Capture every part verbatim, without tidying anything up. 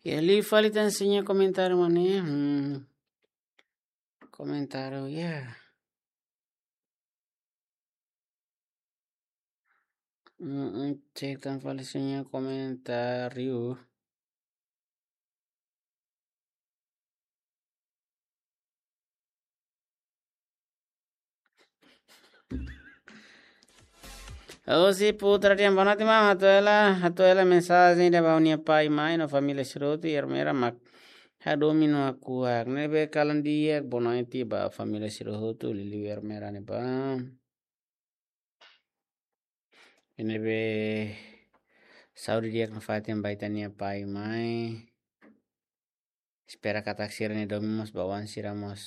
Ya, liu fali tan sira-nia komentáriu mak ne'e. Hmm. Komentáriu, ya. Mm, mm, cek tan fali sira-nia komentáriu. Osi Putra Tian, boa noite, maun. Hato'o hela, hato'o hela mensajen ida ba ha'u-nia pai, mai no família sira hotu, Ermera mak hadomi no hakuak. Ne'ebé kalan di'ak, boa noite ba família sira hotu, liuliu Ermera ne'ebá. Ne'ebé saúde di'ak nafatin ba ita-nia pai, mai. Espera katak sira-nia domin mós ba oan sira mós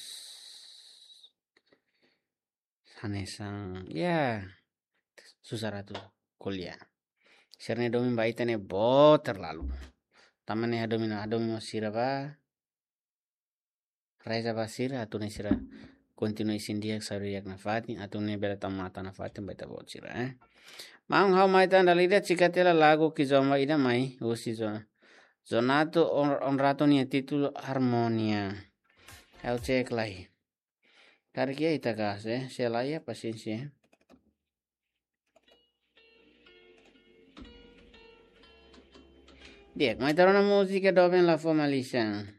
hanesan, ya, susar atu ko'alia. Sira-nia domin ba ita ne'e boot terlalu. Tanba ne'e hadomi no hadomi mós sira ba. Reza ba sira, atu nune'e sira kontinua isin di'ak, saúde di'ak nafatin, atu nune'e bele tau matan nafatin ba ita-boot sira, eh. Maun, ha'u mai tan dala ida, cika tiha lagu Kizomba ida mai, husi Zo-, Zonato On-, Onrato nia títulu Harmonia. Ha'u cek lai. Karik iha ita kase, eh, se la iha pasiénsia. Di'ak, mai ita rona múzika doben la fó malisan.